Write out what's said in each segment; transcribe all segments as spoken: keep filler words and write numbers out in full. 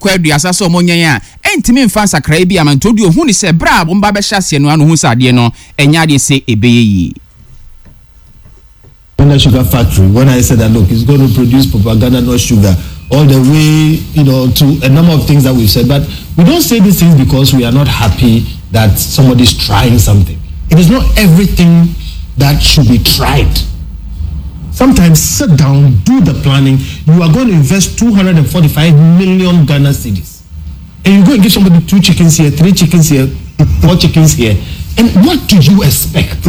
Kɔ aduasa sɛ ɔmo nyɛn a ɛntumi mfa nsakraeɛ bi ama. Nti odi ohun ni sɛ berɛ a wɔn ba bɛhyɛ aseɛ no ano hu sɛ adeɛ no ɛnyɛ adeɛ sɛ ɛbɛyɛ yie. Ghana Sugar Factory, when I said that, look, it's going to produce propaganda, not sugar, all the way, you know, to a number of things that we've said. But we don't say these things because we are not happy that somebody's trying something. It is not everything that should be tried. Sometimes sit down, do the planning. You are going to invest two hundred forty-five million Ghana cedis. And you go and give somebody two chickens here, three chickens here, four chickens here. And what do you expect?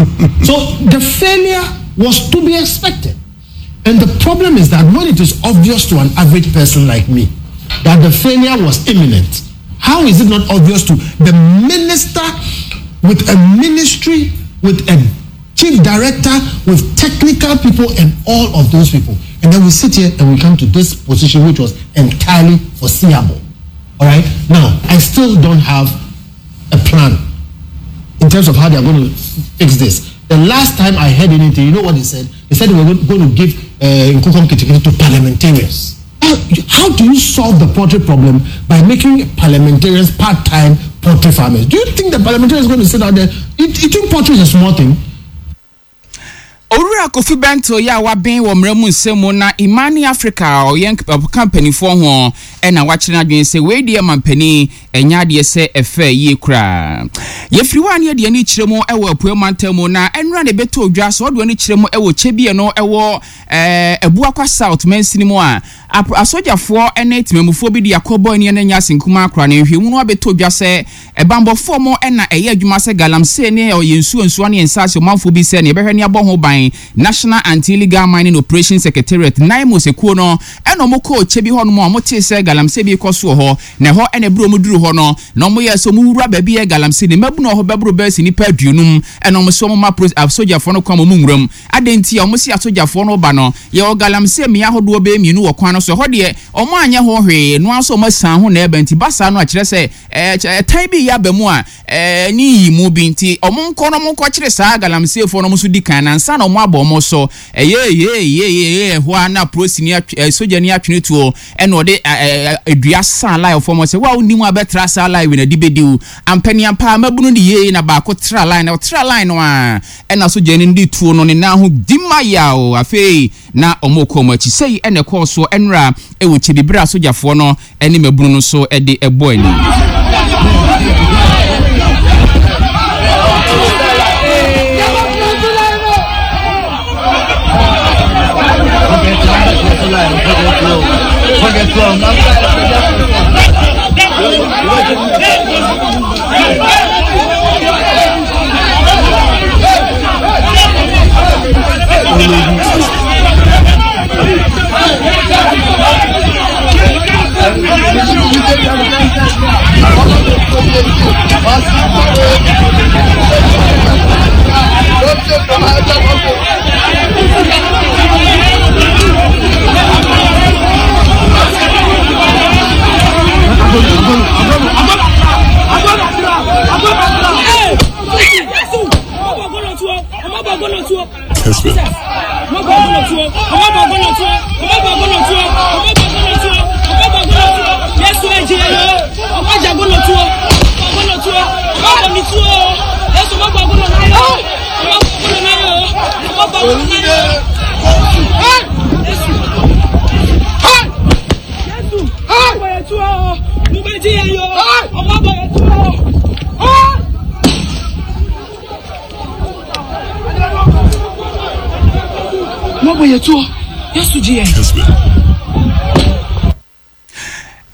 So the failure was to be expected. And the problem is that when it is obvious to an average person like me that the failure was imminent, how is it not obvious to the minister with a ministry, with a chief director, with technical people and all of those people? And then we sit here and we come to this position, which was entirely foreseeable. All right? Now, I still don't have a plan in terms of how they are going to fix this. The last time I heard anything, you know what they said? They said they were going to give uh, Nkukɔ Nketenkete to parliamentarians. How, how do you solve the poultry problem by making parliamentarians part-time poultry farmers? Do you think the parliamentarians are going to sit out there? Eat, eating poultry is a small thing. Owura Kofi Bento yɛ a waben wɔ mmerɛ mu nsɛm mu na Imani Africa a ɔyɛ ɔka mpanimfoɔ ho ɛna wakyerɛ n'adwene sɛ wei deɛ ma mpanin ɛnyɛ adeɛ sɛ ɛfɛ yie koraa. Yɛfiri hɔ a ne yɛde ani kyerɛ mu ɛwɔ Apue mantam mu, na ɛnora ne bɛtɔ odwa sɛ ɔde ani kyerɛ mu ɛwɔ kyɛbie no ɛwɔ ɛɛ Abuakwa South mansini mu a asogyafoɔ ne temamufoɔ bi de akɔbɔ ani no nya asenkuma akora ne nhwɛmu no abɛtɔ dwa sɛ ɛbambɔfoɔ mo ɛna ɛyɛ adwuma sɛ galamsey ne ɔyɛ nsuo nsuo ne nsaase ɔmanfoɔ bi sɛ ne yɛbɛhwɛ ne abɔ ho ban. National Anti-Illegal Mining Operation Secretariat, NAIMOS ekuo no, ɛna ɔmo kɔɔ kyɛ bi hɔnom a ɔmo tee sɛ galamsey bi kɔ so wɔ hɔ, na ɛhɔ ɛna eburo ɔmo duru hɔ no na ɔmo yɛ sɛ ɔmo wura baabi yɛ galamsey ne mmabunu wɔ hɔ bɛboro bɛyɛ si nipa aduonum, ɛna ɔmo sɛ ɔmo ma asogyafoɔ no kwan ɔmo nwuram adan nti a ɔmo si asogyafoɔ no ba no yɛwɔ galamsey mmea ahodoɔ bɛyɛ mmienu wɔ kwan no so. Ɛhɔ deɛ ɔmo anyɛ ho hwee no nso ɔmo asan ho na ɛbɛn nti basa no akyerɛ sɛ ɛɛ ɛtan bi yɛ aba mu a ɛɛ ne yi mu bi nti ɔmo nkɔ no ɔmo nkɔkyerɛ saa galamseyfoɔ no, ɔmo nso di kan na nsa na ɔmo abɔ ɔmo so. Ɛyɛ yɛ yɛ yɛ ɛhɔ a na polisi ni atwe ɛɛ sogyani atwene tuo ɛna ɔde ɛɛ edua san line fɔm sɛ wa onim abɛtra saa line wei na di bedi wo ampaniampa mabunu ne yie na baako tra line na ɔtra line no a ɛna sogyani no de tuo no ne nan ho di ma yaw. Afei na ɔmo kɔ ɔmo akyi sɛyi ɛna ɛkɔɔ so ɛnura ɛwɔ kyebibire a sogyafoɔ no ɛne mabunu no so ɛde ɛbɔ ani.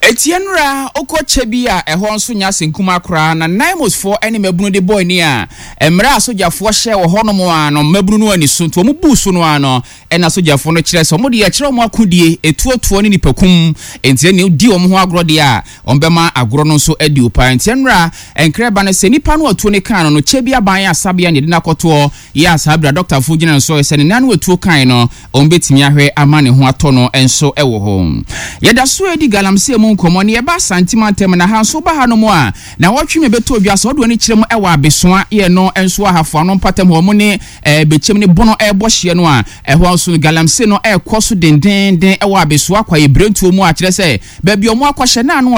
Etie nura okɔ kyɛ bi a ɛhɔ nso nya asenkuma koraa na NAIMOSfoɔ ne mmabunu de bɔɔ ani a mmerɛ a sogyafoɔ hyɛ wɔ hɔnom a no mmabunu no ani so nti wɔn buu so no a no ɛna sogyafoɔ no kyerɛ sɛ wɔn de ɛkyerɛ wɔn akodie etuotuo ne nipakum nti ɛna di wɔn ho agorɔ deɛ a wɔn bɛma agorɔ no nso adi opa. Nti nnura nkrɛba no sɛ nipa no atuo ne kan no no kyɛ bi aban asabea ne yɛde n'akɔtoɔ yɛ a saa abira dɔktafoɔ gyina no so sɛ ne nan no atuo kan no wɔn bɛtumi ahwɛ ama ne ho atɔ no nso ɛwɔ hɔ. Yɛda so edi galamsey mu nkɔmɔ ne yɛba Asanteman ntɛm na ha nso ba ha no mu a na wɔtwe me bɛtɔ odwa sɛ ɔde wɔn kyerɛ mu ɛwɔ Abesoa yɛ no nso ahafo ano mpatam hɔ mo ne ɛɛ Bɛkyɛm ne Bono ɛrebɔ hyeɛ no a ɛhɔ nso galamsey no ɛrekɔ so dendenden ɛwɔ Abesoa kwaeɛ birentuo mu a kyerɛ sɛ baabi ɔmo akɔhyɛ na ano ɔde